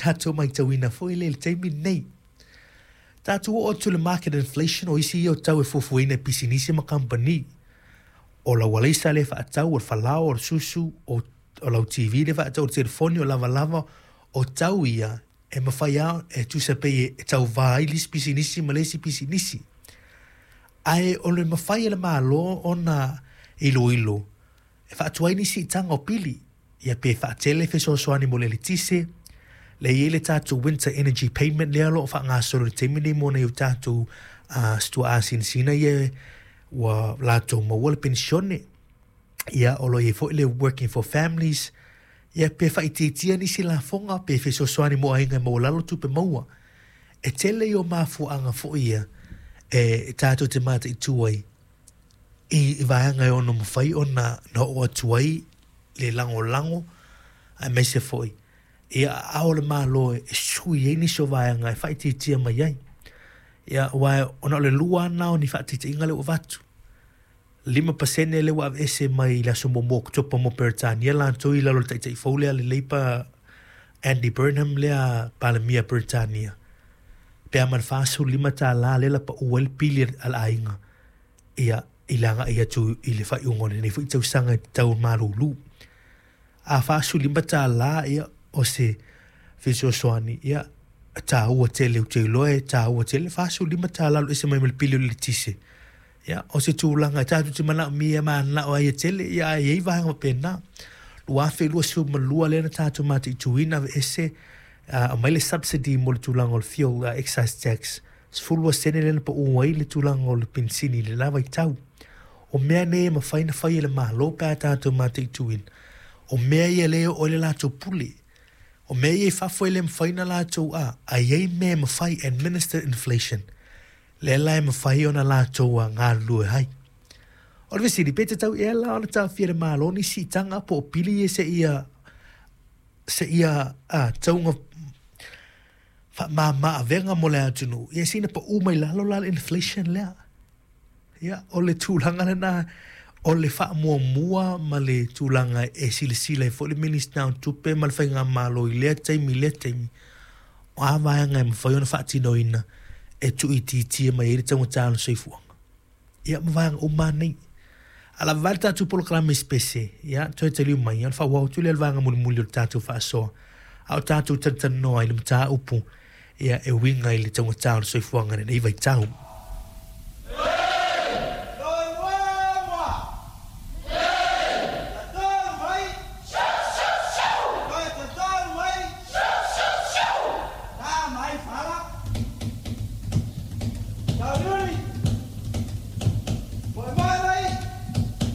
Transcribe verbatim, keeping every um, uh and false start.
tatou matauina foi lea i le taimi lenei. Tatou oo atu i le market inflation, o isi ia o tau e fuafuaina e pisinisi ma kamupani. O lau alaisa lea e faatau, o le falaoa, o le susu, o, o lau T V lea e faatau, o le telefoni, o lavalava, o tau ia e mafai lava e tusa pei e tauvā ai le isi pisinisi ma le isi pisinisi. Ae o le mafai e le Malo ona iloilo e faatuai nisi siitaga o pili, ia pe faatele fesoasoani mo le eletise, le i ai le tatou winter energy payment lea o lo o faagasolo i le taimi nei mo nai o tatou uh, situaa sinasina ia ua latou maua le penisione. Ia o lo o i ai foi le working for families, ia pe faaitiitia nisi lafoga pe fesoasoani mo aiga e maualalo tupe maua. E tele i o mafuaaga foi ia e tatou te mataitu ai i, i vaega e ono mafai ona na oo atu ai le lagolago aemaise foi ia aao le Malo e sui ai nisi o vaega e faaitiitia mai ai. Ia aua ona o le lua lava na o ni faataitaiga lea ua avatu. Lima pasene lea ua aveese mai i le aso muamua o Oketopa mo Peretania latou i lalo o le taitai fou lea le Labour Andy Burnham lea Palemia Peretania. Pe a ma le fasefulu lima tālā lea la paʻu ai le pili a le aiga ia i le agai atu i le faaiuga o lenei foi tausaga e tatau malulu. A fasefulu lima tālā ia o se fesoasoani ia taua tele ou te iloa e taua tele fasefulu lima tālā alu ese mai ma le pili o le eletise. Ia o se tulaga e tatou te manaomia mananao ai e tele ia ae i ai vaega faapena. Lua afe luasefulu ma lua lea na tatou mataituina aveese uh, aumai le subsidy mo le tulaga o le fuel uh, excise tax. Sefulu lua sene lea na paʻu ai le tulaga o le penisini i le la vaitau. O mea nei e mafai ona fai e le Malo pe a tatou mataituina. O mea ia lea e oo ai le latou pule. O mea ia i fafo e le mafai ona latou a, a i ai mea e mafai administer inflation. Lea la e mafai ona latou a galulue ai. O le fesili, pe tatau ea la ona taofia e le Malo ni siitaga po o pili ia seia seia a tauga faamama avega mo le atunuu, ia sina paʻu mai lalo la le inflation lea. Ia o le tulaga lena o le faamuamua ma le tulaga e silasila ai foi le Minista o Tupe ma le Faigamalo i lea taimi i lea taimi. O a vaega e mafai ona faatinoina e tuuitiitia mai ai le taugata o le soifuaga. Ia ma vaega uma lava nei. A lava le tatou polokalame spese, ia toe taliu mai, ona faaauau atu lea le vaega mulimuli o le tatou faasoa. A o tatou talatalanoa i le mataupu ia e uiga i le taugata o le soifuaga i lenei vaitau.